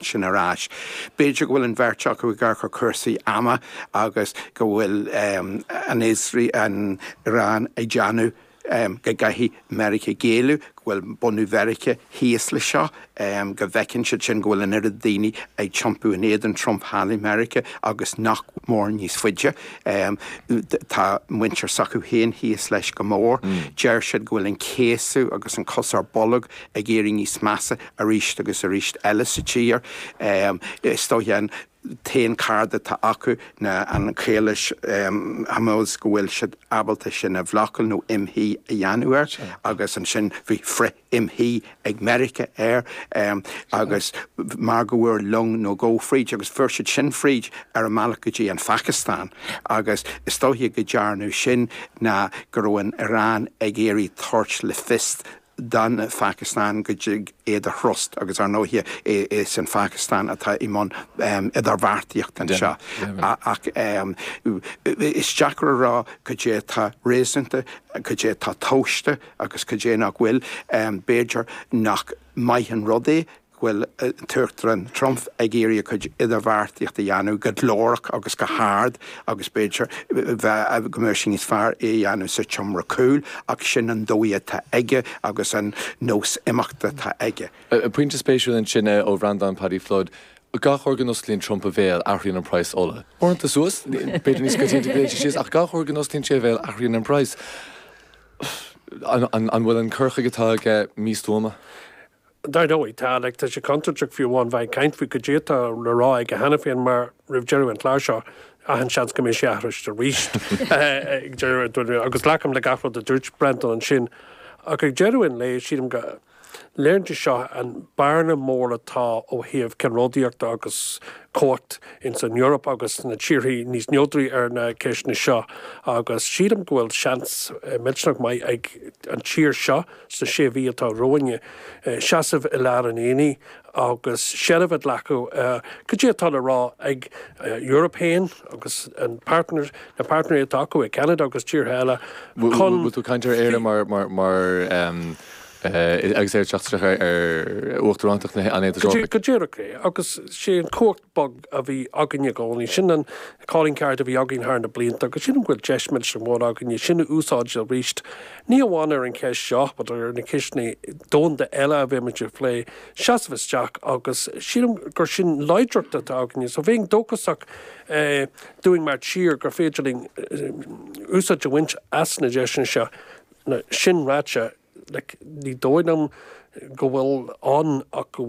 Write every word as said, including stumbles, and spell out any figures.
Sin ar ais. B'fhéidir go bhfuil an bheirt acu ag amharc ar cúrsaí ama agus go bhfuil an an Iran ag déanamh go gcaithfidh Meiriceá géilleadh, go bhfuil bunú Mheiriceá thíos le seo, go bhfeiceann siad sin go bhfuil an oiread daoine ag iompú in éadan Trump thall i Meiriceá agus nach mór níos faide. Tá muintir s'acu féin thíos leis go mór. Deir siad go bhfuil an céasadh agus an cos ar bolg ag éirí níos measa arís agus arís eile sa tír. Is dóiche an t-aon cárta atá acu ná an Chaolas Hormuz, go bhfuil siad ábalta sin a bhlocáil nó imshuí a dhéanamh air, agus ansin bhí frith imshuí ag Meiriceá air agus mar go bhfuair long nó dhó fríd agus fuair siad sin fríd ar a mbealach go dtí an Phacastáin, agus is dóiche go ndearnadh sin ná go raibh an Iran ag iarraidh tabhairt le fios don Phacastáin go dtig iad a thrust, agus ar ndóighe is an Phacastáin atá i mbun idirbheartaíocht anseo. Ach is deacair a rá cad é atá réasúnta, cad é atá tomhaiste agus cad é nach bhfuil. B'fhéidir nach maith an rud é go bhfuil an tUachtarán Trump ag iarraidh a chuid idirbheartaíocht a dhéanamh go glórach agus go hard, agus b'fhéidir go mbeadh sé níos fearr é a dhéanamh sa tseomra cúil, ach sin an dóigh atá aige agus an nós imeachta atá aige. Pointe spéisiúil ansin ó Bhreandán Paddy Flood. Gach uair go n-osclaíonn Trump a bhéal, athraíonn an praghas ola. Uaireanta suas, b'fhéidir níos coitianta go dtéann sé síos, ach gach uair go n-osclaíonn sé a bhéal, athraíonn an praghas. An bhfuil an cur chuige atá aige místuama? Dar ndóigh, tá, like, tá sé contúirteach fiú amháin bheith ag caint faoi cad é atá le rá aige cheana féin, mar roimh deireadh an chláir seo, achan seans go mbeidh sé athraithe arís ag deireadh, agus glacaim le gach rud a dúirt Brendan ansin. Ach ag deireadh an lae, sílim go léiríonn sé seo an bearna mór atá ó thaobh ceannródaíochta agus cumhacht ins an Eoraip agus na tíorthaí níos neodraí ar na ceisteanna seo, agus sílim go bhfuil seans millteanach maith ag an tír seo sna sé mhí atá romhainne seasamh i lár an aonaigh agus seilbh a ghlacadh cad é atá le rá ag Eoraip féin agus an partner na partnerií atá acu i Canada agus tíortha eile. Chun tú caint ar Éire mar mar mar agus ar teacht ar uachtarántacht an Aontais Eorpaigh. Go díreach é, agus sé an cumhacht bog a bhí againne i gcónaí, sin an calling card a bhí againn thar na blianta, agus sin an bhfuil deis millteanach mór againne sin a úsáid arís, ní amháin ar an cheist seo, but ar na ceisteanna domhanda eile a bheimid ag plé, seasamh isteach, agus sílim gur sin láidreacht atá againne. So bheinn dóchasach dúinn mar tír gur féidir linn úsáid a bhaint as na deiseanna seo. Sin ráite, like, ní dóigh liom go bhfuil ann ach go